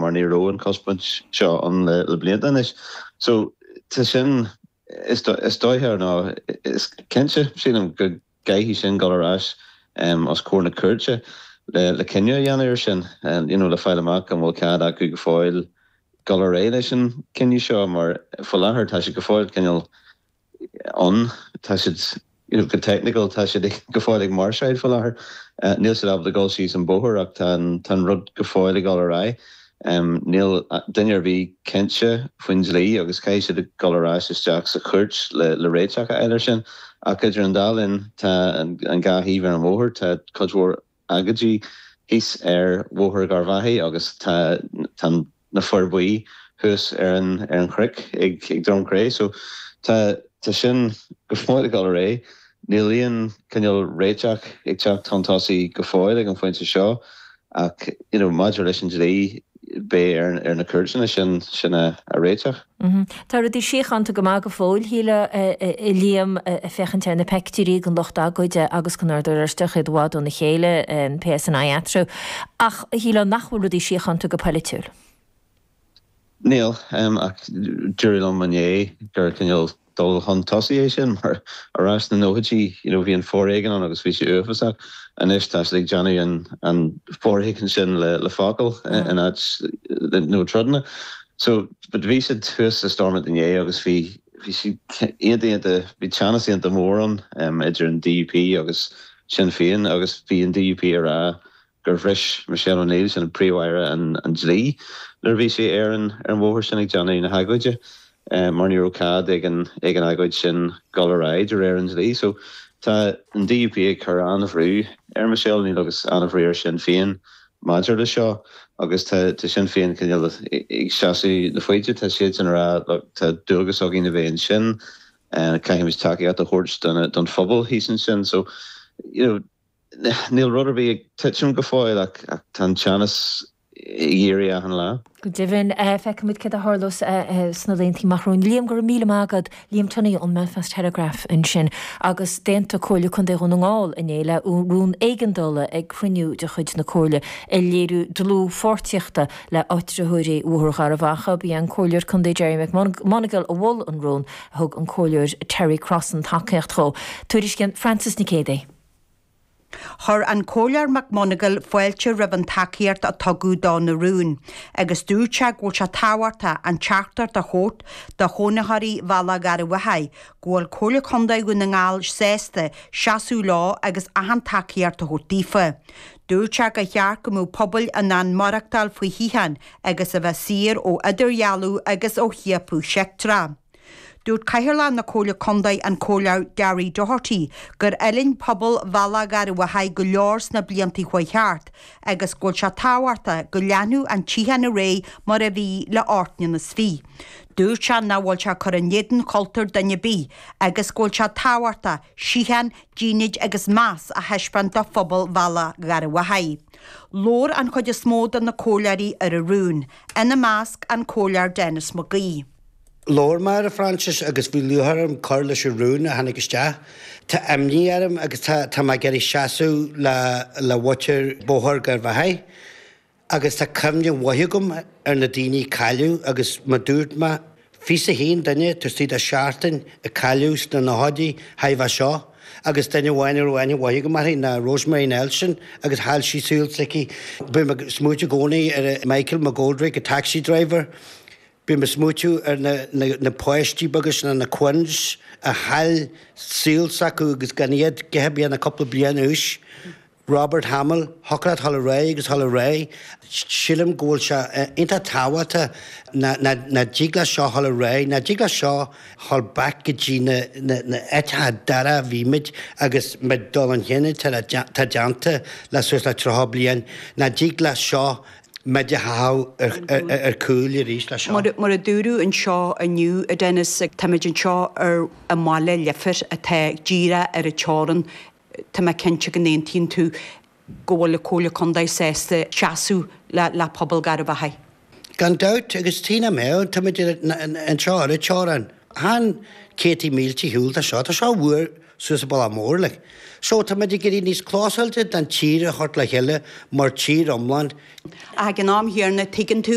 mar ní raibh an chospaint seo ann le blianta anois. So tá sin, is dóiche nó is cinnte, sílim, go gcaithfidh sin dul ar ais os comhair na cúirte le cinneadh a dhéanamh ar sin, you know le fáil amach an bhfuil cead acu go fóill dul ar aghaidh leis an cinneadh seo mar faoi láthair tá sé go fóill cineál ann. Tá siad, you know, go teicniúil tá siad go fóill ag máirseáil faoi láthair. Níl siad ábalta dul síos an bóthar ach tá an, tá an rud go fóill ag dul ar aghaidh. Níl duine ar bith cinnte faoin dlí agus caithfidh siad dul ar ais isteach sa chúirt le le réiteach a fháil ar sin. Ach idir an dá linn tá an dhá thaobh ar an bhóthar, tá cuid mhór agóidí thíos ar Bhóthar Gharbhachaidh agus tá tá na fir buí thuas ar an ar an chnoc ag ag Droim Cré. So tá tá sin go fóill ag dul ar aghaidh. Níl aon cineál réiteach ag teacht chun tosaigh go fóill ag an phointe seo ach you know maidir leis an dlí beidh ar ar na cúirteanna sin sin a a réiteach. Tá rudaí síochánta go maith go fóill, shílfeá, a Liam, ag féachaint ar na peictiúirí den lucht agóide agus den Ord Oráisteach, iad i bhfad óna chéile, an PSNI eatarthu. Ach shílfeá nach bhfuil rudaí síochánta go polaitiúil. Níl, ach dúradh liom inné gur cineál dul chun tosaigh é sin mar ar ais sna nóchaidí you know bhí an foréigean ann agus bhí sé uafásach. Anois tá siad ag déanamh an an foréigean sin le le focail in áit nó troideanna. So but bhí siad thuas i Stormont inné agus bhí bhí siad iontach iontach bhí teannas iontach mór ann idir an DUP agus Sinn Féin agus bhí an DUP ag rá gur bhris Michelle O'Neill, sin an Príomh-Aire, an dlí nuair a bhí sí ar an ar an bhóthar sin ag déanamh na hagóide mar ní raibh cead ag an ag an agóid sin dul ar aghaidh de réir an dlí. So tá an DUP ag cur an-bhrú ar Michelle O'Neill agus an-bhrú ar Sinn Féin maidir le seo agus tá tá Sinn Féin cineál ag seasamh na foighde, tá siadsan ag rá look tá dualgas againn a bheith ansin, caithfimid tacaíocht a thabhairt don phobal thíos ansin. So you know, Níl rud ar bith ag titim go fóill ach tá an teannas ag éirí achan lá. Go deimhin, feicfimid céard a tharlós sna laethanta amach romhainn. Liam, go raibh míle maith agat. Liam Tunney ón mBelfast Telegraph ansin. Agus d'aontaigh Comhairle Contae Dhún na nGall inné le rún éigeandála ag cruinniú de chuid na Comhairle ag léiriú dlúthpháirtíochta le áitritheoirí Bhóthar Gharbh Achaidh. Ba é an Comhairleoir Contae Gerry McMonagle a mhol an rún. Thug an Comhairleoir Terry Crossan tacaíocht dhó. Tuairiscíonn Frances Nic Géadaigh. Chuir an Comhairleoir McMonagle fáilte roimh an tacaíocht a tugadh do na rúin agus dúirt sé go bhfuil sé tábhachtach an teachtaireacht a thabhairt do chónaitheoirí Bhealach Gharbhachaidh go bhfuil Comhairle Contae Dhún na nGall sásta seasamh leo agus achan tacaíocht a thabhairt daofa. Dúirt sé gur cheart go mbeadh pobail in ann maireachtáil faoi shíocháin agus a bheith saor ó idirdhealú agus ó chiapadh seicteach. Dúirt Cathaoirleach na Comhairle Contae, an Comhairleoir Gary Doherty, gur fhulaing pobal Bhealach Gharbhachaidh go leor sna blianta a chuaigh thart agus go bhfuil sé tábhachtach go leanfadh an tsíocháin ar aghaidh mar a bhí le 28. Dúirt sé nach bhfuil sé ag cur in éadan chultúr duine ar bith agus go bhfuil sé tábhachtach síocháin, dínit agus meas a thaispeáint do phobal Bhealach Gharbhachaidh. Labhair an chuid is mó de na comhairleoirí ar an rún, ina measc an Comhairleoir Denis McGee. Labhair mé, a Phroinsias, agus bhí lúcháir orm cur leis an rún a tháinig isteach. Tá imní orm agus tá tá mé ag iarraidh seasamh le le mhuintir Bóthar Gharbhachaidh agus tá cuimhne mhaith agam ar na daoine a cailleadh agus mar dúirt mé, 21 duine taobh istigh de sheachtain a cailleadh sna nóchaidí roimhe seo agus duine amháin a raibh aithne mhaith agam uirthi ná Rosemary Nelson agus chaill sí saol s'aici. Bím ag smaoitiú i gcónaí ar Michael McGoldrick, a taxi driver. Bím ag smaoitiú ar na páistí beaga sin, na Quinns, a chaill saol s'acu agus gan iad a dhath ar bith ach cúpla bliain d'aois. Robert Hamill, thiocfadh leat dhul ar aghaidh agus dhul ar aghaidh. Sílim go bhfuil sé iontach tábhachtach nach dtig leis seo dhul ar aghaidh, nach dtig leis seo dhul back go dtí na áiteacha dorcha a bhí muid agus muid dul chun cinn atá déanta le suas le 30 bliain, nach dtig leis seo muid a chaitheamh ar cúl arís leis seo. Mar a dúradh anseo inniu, a Dennis, táimid anseo ar i mBaile Leifir atá díreach ar an teorainn. Tá mé cinnte go n-aontaíonn tú go bhfuil an Comhairle Contae sásta seasamh le pobal Gharbh Achaidh. Gan dabht, agus tuige nach mbeadh, táimid anseo ar an teorainn. Chan céadtaí mílte ar shiúl atá seo, tá seo uair suas an bealach mór, like. So tá muid ag éirí níos clósáilte don tír a thabhairt le chéile mar tír iomlán. Ach ag an am chéanna, tuigeann tú.